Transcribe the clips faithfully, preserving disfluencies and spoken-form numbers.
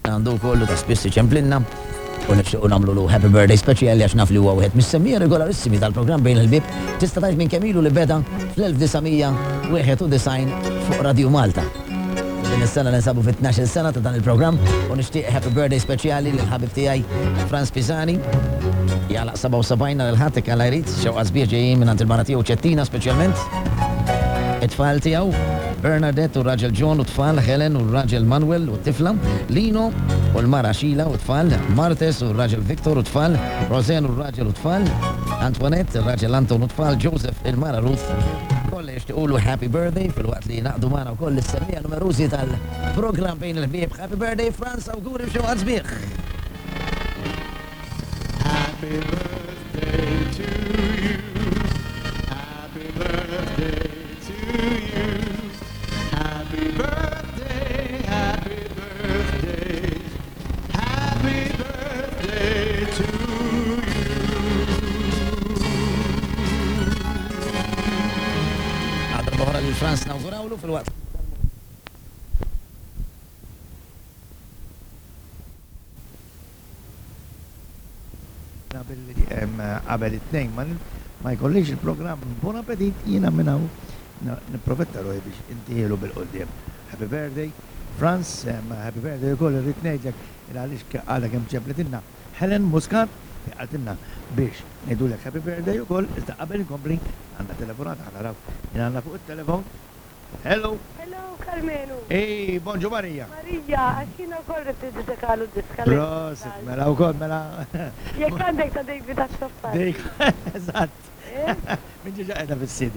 Għandu kollu ta' spiss iċemplinna u nixtiequ nagħmlu happy birthday speċjali għax naf li huwa wieħed mis-semmiegħa regolarissimi tal-programm Bejn il-Ħbieb. Tista' tgħid minn kemm ilu li beda fl-elf disa' mija wieħed u disgħin fuq Radio Malta. Din is-sena ninsabu fit-tnax-il sena ta' dan il-programm u nixtieq happy birthday speċjali lil ħabib tiegħi Franz Pisani. Jagħlaq sebgħa u sebgħin nhar il-Ħadd jekk Alla jrid, xewqat sbieħ ġejjin minn il-mara tiegħu Ċettina speċjalment. It-tfal tiegħu Bernadette u raġel John u tfal, Helen u raġel Manuel u tifla, Lino u l-mara Sheila u tfal, Martes u raġel Victor u tfal, Rosen u raġel u tfal, Antoinette, raġel Anton u tfal, Joseph, il-mara Ruth, kollha jixtiequlu happy birthday filwaqt li ngħaqdu magħna wkoll is-semmiegħa numerużi tal-programm Bejn il-Ħbieb. Happy birthday, Franz, awguri xewqat sbieħ. Happy birthday to you. Happy birthday to you. Happy birthday, happy birthday. Happy birthday to you. Għadra boħra lil Franz nawgurawlu filwaqt Billi em, qabel it-tnejn ma ma jkollix il-programm Bon Appetit, jiena minn hawn nipprofetta ruħi biex intihielu bil-quddiem. Happy birthday, Franz, em, happy birthday ukoll irrid ngħidlek il għaliex għadha kemm ċemplitilna Helen Muscat li qaltilna biex ngħidulek happy birthday ukoll, iżda qabel inkompli għandna telefonata, ħa naraw min għandna fuq it-telefon. Hello. Hello, Karmenu. Ej, bonġu Marija. Marija, għax jiena wkoll rrid niddedikalu diska. Prosit, mela wkoll mela. Jekk għandek ta' David Azzopardi. Dik, eżatt. Min ġiġa qiegħda fis-C D.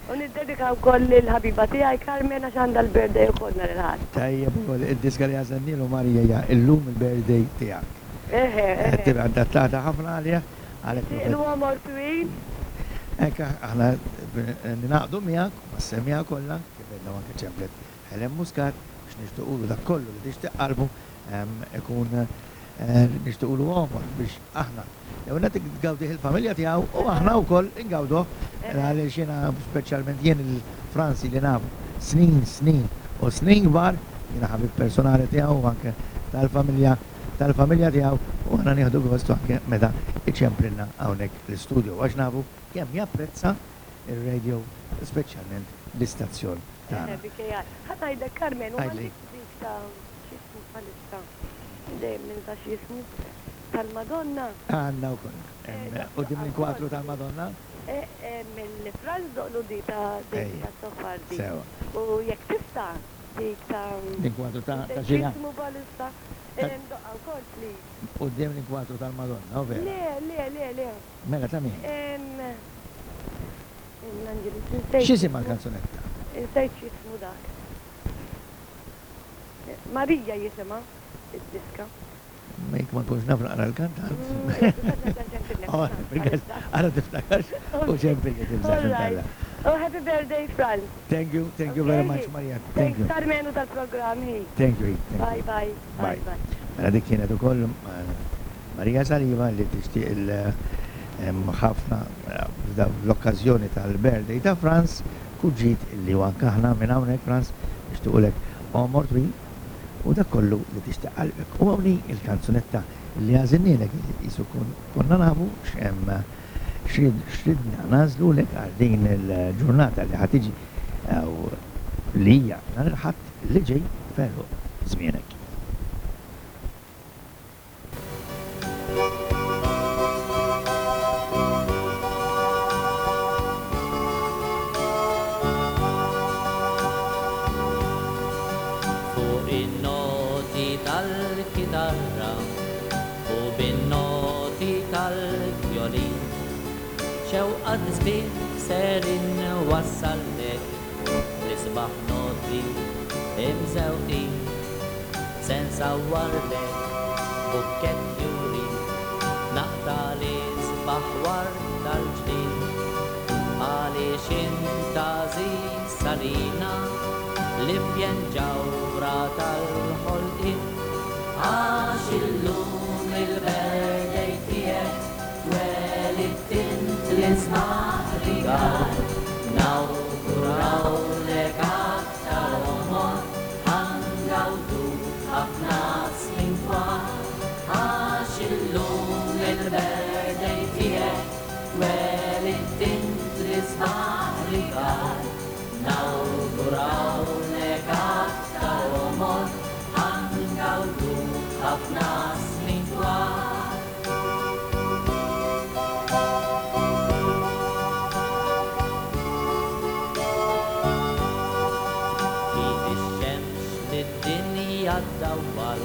U niddedika wkoll lill-ħabiba tiegħi Carmen għax għandha l-birthday ukoll nhar il-Ħadd. Tajjeb ukoll id-diska li għażelnielu Marija hija Illum il-Birthday Tiegħek. Eħe, eħe. Tibqa' adattata ħafna għalija. Għalhekk Nixtieqlu għomor twil. Hekk aħna ninaqdu miegħek mas-semmiegħa kollha kif għedna anke ċemplet Helen Muscat biex nixtiequlu dak kollu li tixtieq qalbu em, ikun eh, nixtiequlu għomor biex aħna jew qed tgawdih il-familja tiegħu u aħna wkoll ingawduh għaliex jiena speċjalment jien il-Franzi li nafu snin, snin u snin kbar, jiena ħabib personali tiegħu u anke tal-familja tal-familja tiegħu u aħna nieħdu gost anke meta iċemplilna hawnhekk l-istudio għax nafu kemm japprezza ir-radio, speċjalment l-istazzjon tagħna. Eħe, B K R. Ħa ngħidlek, Carmen, u Għidli. għandek dik ta' x'jismu bħalissa. Dejjem minn ta' x'jismu tal-Madonna. Għandna wkoll. Eh, Quddiem il-kwatru tal-Madonna? Eh, eh, Mill-Franz doqlu di ta' David Ejja. Azzopardi. Sewa. U jekk tista' dik ta' L-inkwatru ta' ta' xina? X'jismu bħalissa. Doqqa wkoll, please. Quddiem l-inkwatru tal-Madonna, u vera? Le, le, le, le. Mela ta' min? Em, L-Anġelu, nsejt. X'isimha l-kanzunetta? Insejt x'jismu dak. Marija jisimha id-diska. Mek ma nkunx naf naqra l-kantant. Oh, għara tiftakarx u ċempil tibżax All right. Oh, happy birthday, Franz. Thank you, thank you very much, Maria. Thank Thanks, you. Karmenu tal-programm. Hi. Thank you, thank Bye, you. bye. Bye. Bye. Mela dik kienet ukoll eh, Marija Saliba li tixtieq il em, ħafna eh, l-okkażjoni tal-birthday ta' Franz kuġġit illi u anke aħna minn hawnhekk, Franz, nixtiequlek għomor twil u dak kollu li tixtieq qalbek. U hawnhi il-kanzunetta li għażilnielek jisu konna nafu x'hemm x'ridna nagħżlulek għal din il-ġurnata li ħa tiġi li hija nhar il-Ħadd li ġej ferru żmienek. Fuq in-noti tal-kitarra u bin-noti tal-vjolin xewqat sbieħ ser inwassallek l-isbaħ noti imżewqin se nsawwarlek bukkett fjuri naqta' l-isbaħ ward tal-ġnien għaliex int għażiż għalina l-ifjen ġawhra tal-ħolqien għax illum il-birthday tiegħek twelidt int l-isbaħ rigal nawgurawlek aktar għomor ħa ngawdu ħafna snin. Id-dinja ddawwal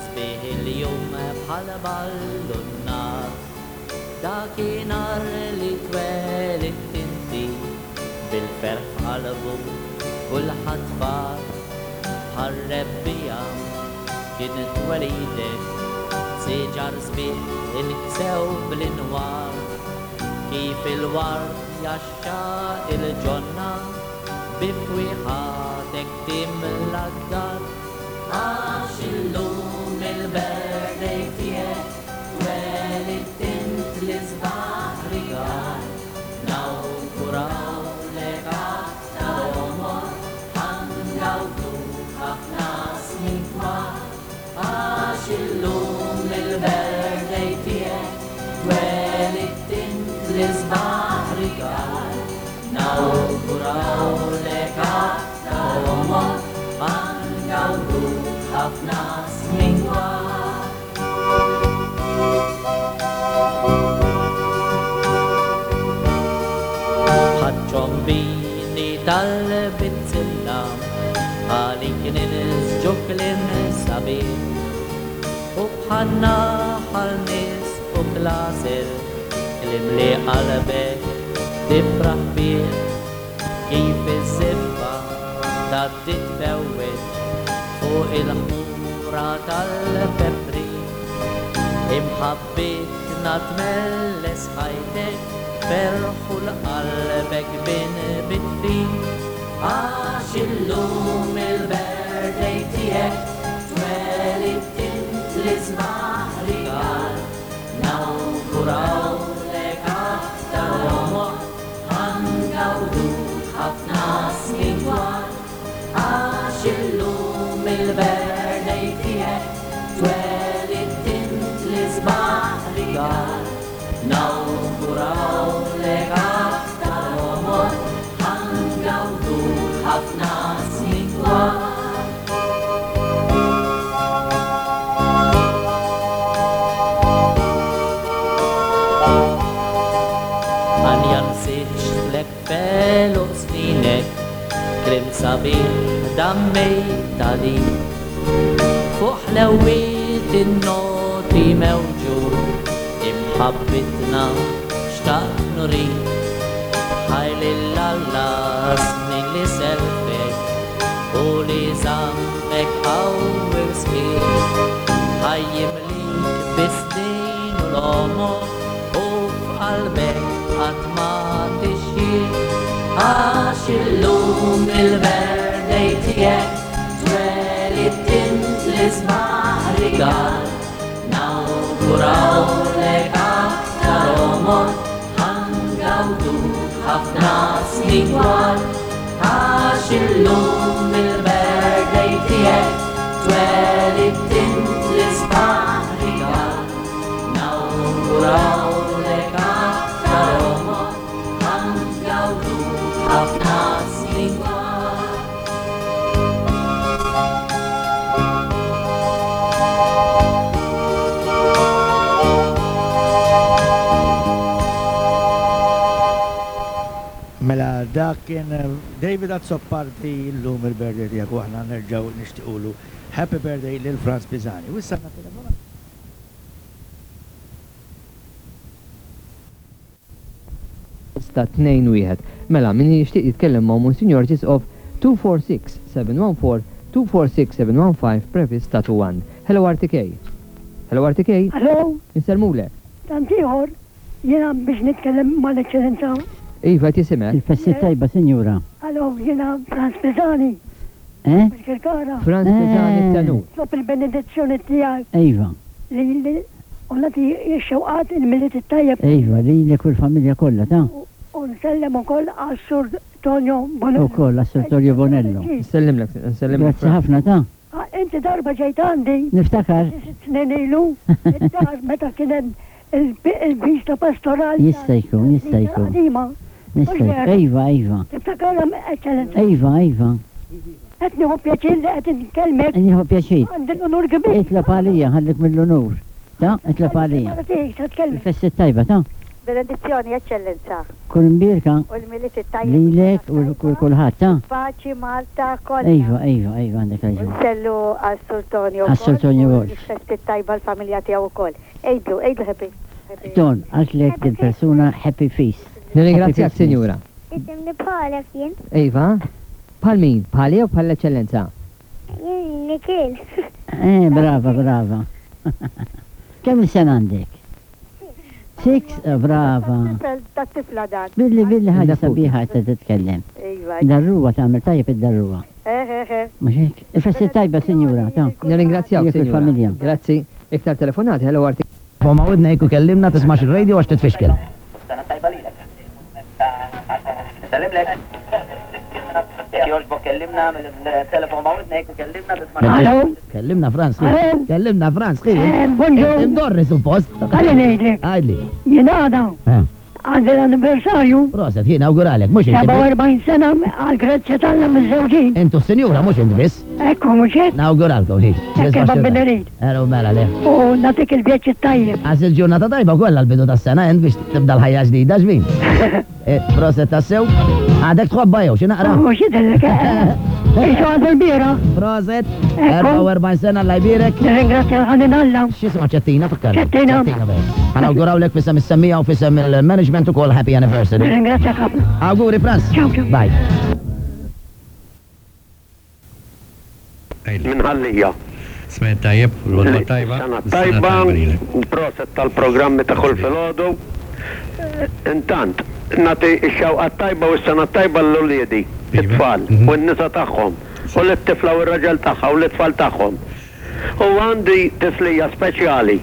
sbieħ il-jum bħal ballun-nar. Dakinhar li twelidt inti bil-ferħ f'qalbu kulħadd far. Bħar-rebbiegħa kien twelidek, siġar sbieħ inksew bl-inwar. Kif il-ward jaxxa il-ġonna, bi fwieħatek timla d-dar. Għax illum il-birthday tiegħek twelidt int l-isbaħ rigal. Nawgurawlek aktar għomor, ħa ngawdu ħafna snin twal. Għax illum il-birthday tiegħek twelidt int l-isbaħ rigal. Nawgurawlek aktar għomor, ħa ngawdu ħafna snin twal. Bħaċ-ċombini tal-bizzilla, għalik ninżġu kliem sabiħ. U bħan-naħal nies u klaser, kliem li qalbek tifraħ bih. Kif iż-żiffa tgħaddi tfewweġ fuq il-ħmura tal-pepri. Imħabbitna tmelles ħajtek, ferħu l-qalbek bin bitfi. Għax illum il-birthday tiegħek twelidt int l-isbaħ rigal. Nawgurawlek aktar għomor, ħa ngawdu ħafna snin twal. Għax illum il-birthday tiegħek twelidt int l-isbaħ rigal. Nawgurawlek aktar għomor, ħa ngawdu ħafna snin twal. Għanja nsiġlek felu sninek, kliem sabiħ dammejt għalik. Fuq ħlewiet in-noti mewġu, imħabbitna xtaqt nurik. Ħaj lil Alla snin li selfek u li żammek qawwi u sħiħ. Ħaj jimlik bis-snin u l-għomor u f'qalbek qatt ma tixjih. Għax illum il-birthday tiegħek twelidt int l-isbaħ rigal. Nawgurawlek aktar għomor, ħa ngawdu ħafna snin twal. Għax illum il-birthday tiegħek twelidt int l-isbaħ rigal. Nawgurawlek aktar għomor, ħa ngawdu ħafna snin twal. Mela dak kien David Azzopardi llum il-birthday tiegħek u aħna nerġgħu nixtiequlu happy birthday lil Franz Pisani. U issa għandna telefonata. Ta' tnejn wieħed. Mela, min jixtieq jitkellem ma' Monsignor Ġisqof two four six seven one four two four six seven one five previs ta' two one. Hello R T K. Hello R T K. Hello. Insellmulek. Tant ieħor, jiena biex nitkellem mal-Eċċellenza. Iva, tisimek. Il-festi tajba, sinjura. Hello, jiena Franz Pisani. Eh? Bil-Kirkara. Franz Pisani Eh. t-tenur. Nitlob il-benedizzjoni tiegħek. Iva. Li li u nagħti x-xewqat il-Milied it-tajjeb. Iva, li li kull familja kollha, ta'. U nsellem ukoll għas-Sur Tonio Bonello. Ukoll għas-Sur Tonio Bonello. Nsellimlek, nsellimlek. Grazzi ħafna, ta'. Ah, inti darba ġejt għandi. Niftakar. Sitt snin ilu, id-dar meta kien hemm il-vista pastorali. Jista' jkun, jista' jkun. Qadima. Nista' jkun. Iva, iva. Tiftakarha, Eċċellenza. Iva, iva. Qed nieħu pjaċir li qed inkellmek. Nieħu pjaċir. Għandi l-unur kbir. Itlob għalija, ħallik mill-unur. Ta, itlob għalija. Mara tiegħek, ta' tkellmek. Il-festi tajba, ta. Benedizzjoni, Eċċellenza. Kun imbierka U l-Milied it-tajjeb. lilek u l kulħadd, ta? Paċi Malta kollha. Iva, iva, iva, għandek raġun. Sellu għas-Sur Tonio. Għas-Sur Tonio Wolf. Festi tajba l-familja tiegħu wkoll. Ejdlu, ejdlu happy. happy. Ton, għatlek dil-persuna happy feast. Nirringrazzjak, Happy Christmas. Sinjura. Isimni bħalek jien. Iva, bħal min? Bħali jew bħal l-Eċċellenza? Jien Nikil. Eh, brava, brava. Kemm sena għandek? Six, eh, brava. Tifel ta' tifla dan. Billi, billi ħaġa Nafu. sabiħa qed titkellem. Iva. Darruwa tagħmel tajjeb id-darruwa. Eh, eh, eh. Mhux hekk? Il-festi tajba, sinjura, ta. Nirringrazzjak, Jekk Sinjura. il-familja. Grazzi. Iktar telefonati, hello R T K. Foma widnejk u kellimna tismax il-radio għax titfixkel. Sena tajba lilek. Sellimlek. Jekk jogħġbok kellimna mill-telefon ma' widnejk u kellimna tismax. Hello? Kellimna Franz, ħi. Hello? Kellimna Franz, ħi. Eh, bonġur. Imdorri suppost. Għalli ngħidlek, Għidli. jien għada Eh, għandi l-anniversarju Proset, jien awguralek, mhux inti. biss. sebgħa u erbgħin sena għal grazzja t'Alla miż-żewġin. Intu s-sinjura, mhux inti biss. Ekku mhux hekk, Nawguralkom, ħi. hekk kif Rabbina jrid. Ero mela le. U nagħtik il-vjaġġ it-tajjeb. Għax il-ġurnata tajba kollha l-bidu tas-sena int biex tibda l-ħajja ġdida ġbin. Eh, Proset tassew. Għadek tħobba jew xi naqra. Mhux jidhirlek, eh, Isu għadu l-bira. Proset, Ekku. erbgħa u erbgħin sena alla jbierek. Nirringrazzja l-ħanin Alla. X'isma ċettina fakkar. Ċettina. Ħa nawgurawlek f'isem is-semmija u f'isem il-management ukoll happy anniversary. Nirringrazzja ħafna. Awguri Franz. Ciao, ciao. Bye. Minħallija. Smet tajjeb, l-għodwa tajba. Sena tajba, proset tal-programmi ta' kull filgħodu. Intant, nagħti x-xewqa tajba u s-sena tajba l-uliedi, Iva. it-tfal, Mhm. u n-nisa tagħhom, u l-tifla u r-raġel tagħha u l-tfal tagħhom. U għandi tislija speċjali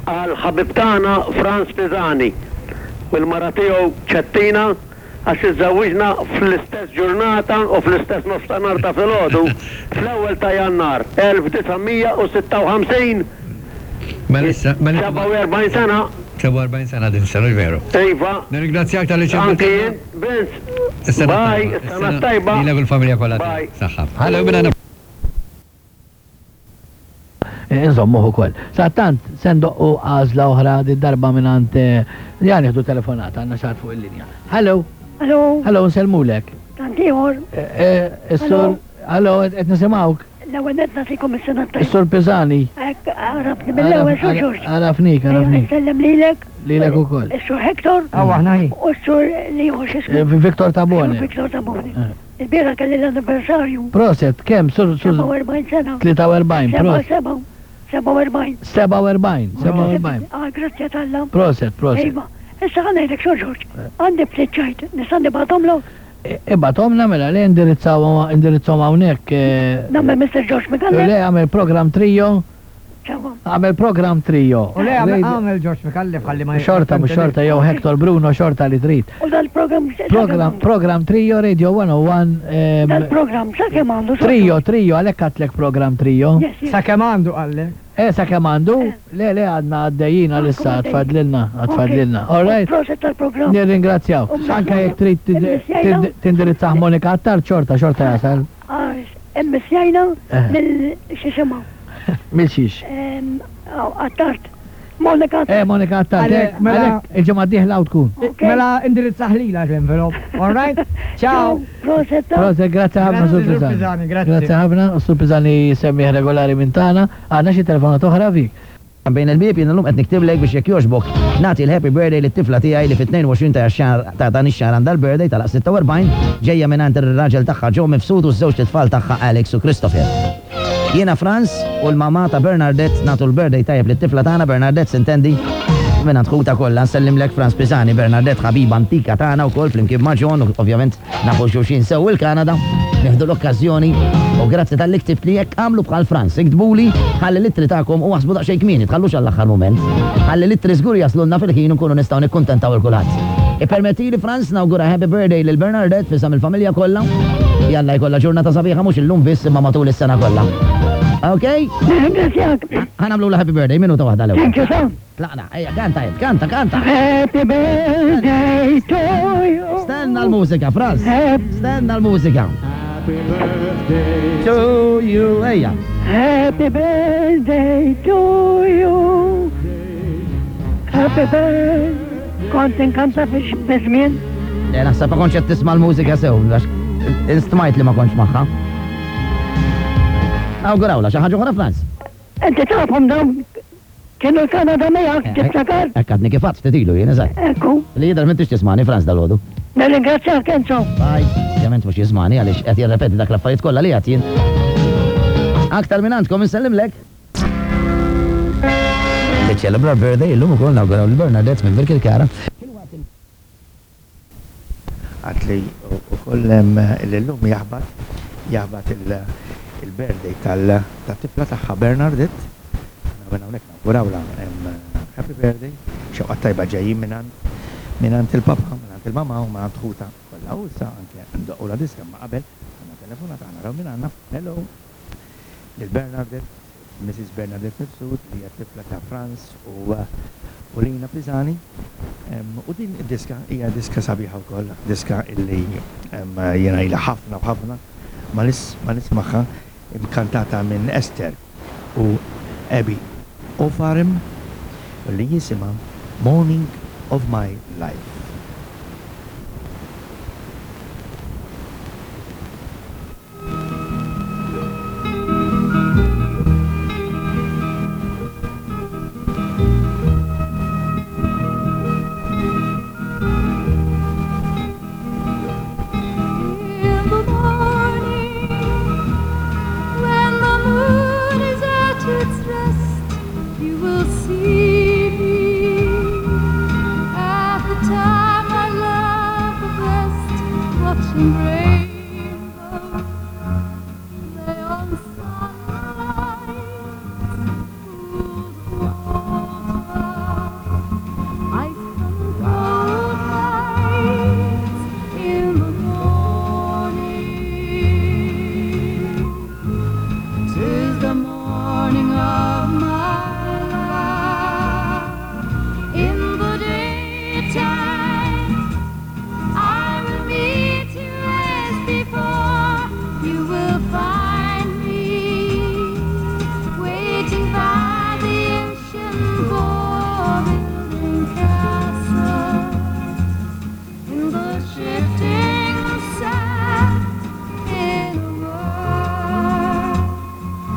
għal ħabib tagħna Franz Pisani u l-mara tiegħu Ċettina għax iżżewwiġna fl-istess ġurnata u fl-istess nofstanhar ta' filgħodu fl-ewwel ta' Jannar elf disa' mija u sitta u ħamsin. Mela issa, mela sebgħa u erbgħin sena. sebgħa u erbgħin sena din sena, veru. Iva. Nirringrazzjak tal-li Anki jien, Vince. Bye, is-sena tajba. Lilek u l-familja kollha. Bye. Saħħa. Hello, minna Insomma, ukoll. Sadanittant, se ndoqqu għażla oħra di darba minn jan nieħdu telefonata, għandna xi ħadd fuq il-linja. Hello, Hello, hello, nsellmulek. tant ieħor, Eh, Is-sur, hello, qed nisimgħuk. l-ewwel nett nagħtikom is-sena tajba. Is-sur Pisani. Hekk għarafni mill-ewwel Sur Ġorġ. Għarafnik, għarafnik. Nsellem lilek, Lilek ukoll. is-Sur Hector Aw, aħna hi. u s-Sur li hu x'ismu. Eh, Viktor Tabone. Viktor Tabone. Eh. Il-bieraħ kelli l-anniversarju. Proset, kemm, sur, sur, sebgħa u erbgħin sena. tlieta u erbgħin, Seba' proset. seba' sebgħa u erbgħin. sebgħa u erbgħin, sebgħa u erbgħin. Ah, grazzja t'Alla. Proset, proset. Iva, issa ħa ngħidlek Sur Ġorġ, għandi ftit ċajt, nista' nibgħathomlok? Ibgħathomlna mela li indirizzaw indirizzawhom hawnhekk. eh, Nagħmel Mister George Micallef. Le għamel program trio, Ċawa. għamel program trio. U le għamel George Micallef ħalli ma Xorta mhux xorta jew Hector Bruno xorta li trid. U dal-program Program program trio Radio one oh one ehm, Dal-program sa kemm għandu Sur Trio, George? trio, għalhekk għedtlek program trio. Yes, yes. Sa kemm għandu għallek. Eh, sa kemm għandu? Le, le, għadna għaddejjin għalissa, Għadkom għad fadlilna, għad fadlilna. Ok. All right. Proset tal-program. Nirringrazzjaw. U Anke jekk trid tid- Immissjajna? tid- tindirizzah Monika Attard, xorta, xorta jasal. Ah, Immissjajna Eh. mill xisimha. Mil xiex. Attard. Monika Eh, Monika Attard, Għalek, eh, mela- għalek, il-ġimgħa d-dieħla u tkun. Ok. Mela indirizza ħlila l-envelop. All right? Ciao. Proset ta' Proset, grazie ħafna, Grazzi, Sur Sur Pisani. Pisani, grazzi. Grazie ħafna, Sur Pisani semmiħ regolari minn tagħna. Għandna xi telefonat oħra fik. Bejn il-bieb jien illum qed niktiblek biex jekk jogħġbok nagħti l-happy birthday lit-tifla tiegħi li fit-tnejn u għoxrin ta' xahar ta' dan ix-xahar għandha l-birthday tal sitta u erbgħin ġejja minn ir-raġel tagħha Joe Mifsud u ż-żewġ tfal tagħha Alex u Christopher. Jiena Franz u l-mama ta' Bernadette nagħtu l-birthday tajjeb lit-tifla tagħna Bernadette sintendi minn ħuta kollha nsellimlek Franz Pisani. Bernadette ħabiba antika tagħna wkoll flimkien ma' John u ovvjament nafu xulxin sew il-Kanada. Nieħdu l-okkażjoni u grazzi talli ktibt li jekk għamlu bħal Franz, iktbuli ħalli l-ittri tagħkom u aħsbu daqsxejn kmieni, tħallux għall-aħħar mument. Ħalli l-ittri żgur jaslulna fil-ħin u nkunu nistgħu nikkuntentaw il kulħadd. Ippermettili Franz nawgura happy birthday lil Bernadette f'isem il-familja kollha. Jalla jkollha ġurnata sabiħa mhux illum biss imma matul is-sena kollha. Ok? Ringrazzjak. Ħa nagħmlu la happy birthday minuta waħda l-ewwel. Thank you, Sam. Tlaqna, ejja, kanta, ejja, kanta, kanta. Happy birthday to you. Stenna l-mużika, Franz. Happy, Stenna l-mużika. Happy birthday To you, ejja. happy birthday to you. Happy birthday. Kont inkanta fi żmien. Le, naħseb ma kontx qed tisma' l-mużika sew, għax instmajt li ma kontx magħha. Nawgurawla, xi ħaġa oħra Franz? Inti tafhom dawn kienu l-Kanada miegħek, tiftakar? Hekk għadni kif għadt ftit ilu jien eżatt. Ekku. Li jidher m'intix tismani Franz dalgħodu. Nirringrazzjak Enzo. Bye. Ovvjament mhux jismani għaliex qed jirrepeti dak l-affarijiet kollha li għad jien. Aktar minn għandkom insellimlek. Tiċċelebra birthday illum ukoll nawguraw lil Bernadette minn Birkirkara. Għat li ukoll l-lum jaħbat jaħbat il-birthday tal-tifla tagħha Bernadette. Minn hawnhekk nawgurawla happy birthday, xewqa tajba ġejjin minn mingħand il-papa, mingħand il-mama u mingħand ħuta kollha. U issa anke ndoqqu la diska ma qabel għandna telefonata naraw minn għandna. Hello. Lil Bernadette, Missus Bernadette Mifsud, li hija tifla ta' Franz u u Lina Pisani. U din id-diska hija diska sabiħa wkoll, diska illi jiena ilha ħafna u ħafna ma nismagħha, imkantata minn Esther u Abby Ofarim, li jisimha Morning of My Life. In the morning, when the moon is at its rest, you will see me at the time I love the best, watching rainbows play on sunlight, cool water, ice from cold nights in the morning. 'Tis the morning of my life. In the daytime, I will meet you as before. You will find me waiting by the ocean for building castles in the shifting sand, in a world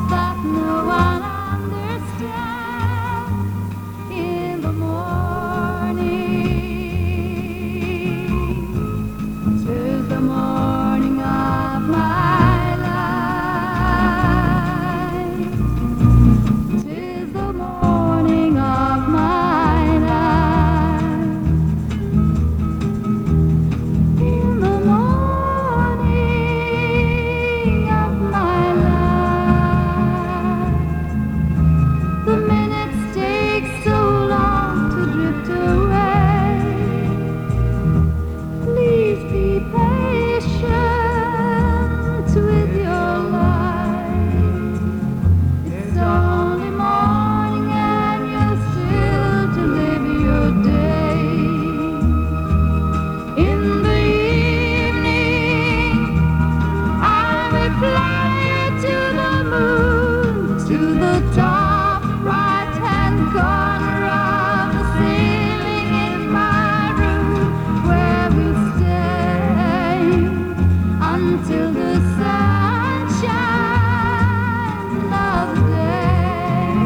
that no one understands. In the morning, 'tis the morning of my life. 'Tis the morning of my life. In the morning of my life, the minutes take so long to drift away. Please be patient with your life. It's only morning and you're still to live your day. In the evening, I will fly you to the moon, to the top right-hand corner of the ceiling in my room, where we'll stay until the sun shines another day.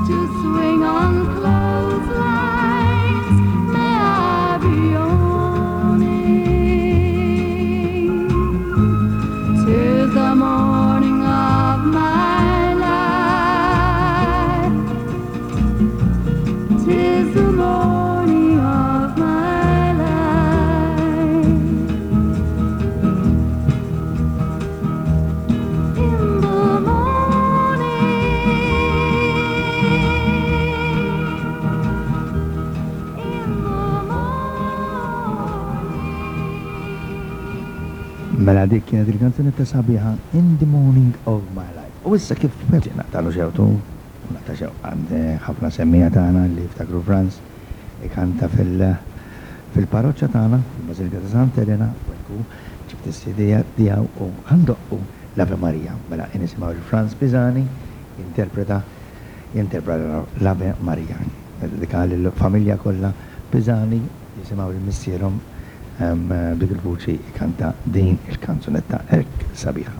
To swing on clotheslines, may I be yawning. 'Tis the morning of my life. 'Tis the morning of my life. In the morning, in the Mela dik kienet il-kanzunetta sabiħa In the Morning of My Life. U issa kif naqtalu xewtu, naqta xew għand ħafna semmija tagħna li ftakru Franz ikanta fil- fil-parroċċa tagħna, fil-Bażilika ta' Santa Elena, u ekku ġibt is-sidija tiegħu u ħandoqqu l-Ave Maria. Mela nisimgħu lil Franz Pisani jinterpreta jinterpreta l-Ave Maria. Dedika lill-familja kollha Pisani jisimgħu lil missierhom b'dik il-vuċi jkanta din il-kanzunetta hekk sabiħa.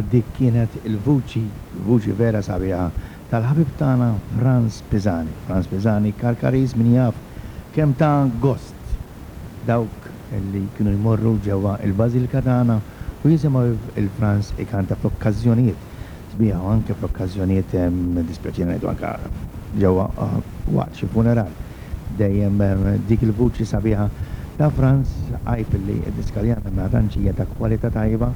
Dik kienet il-vuċi, il-vuċi vera sabiħa tal-ħabib tagħna Frans Pisani. Frans Pisani Karkariż min jaf kemm ta' gost dawk li kienu jmorru ġewwa il-Bażilika tagħna u jisimgħu il-Frans ikanta fl-okkażjonijiet sbieħ u anke fl-okkażjonijiet dispjaċina ngħidu anke ġewwa waqt xi funeral. Dejjem dik il-vuċi sabiħa ta' Frans, għajb li d-diska li għandna ma tantx hija ta' kwalità tajba.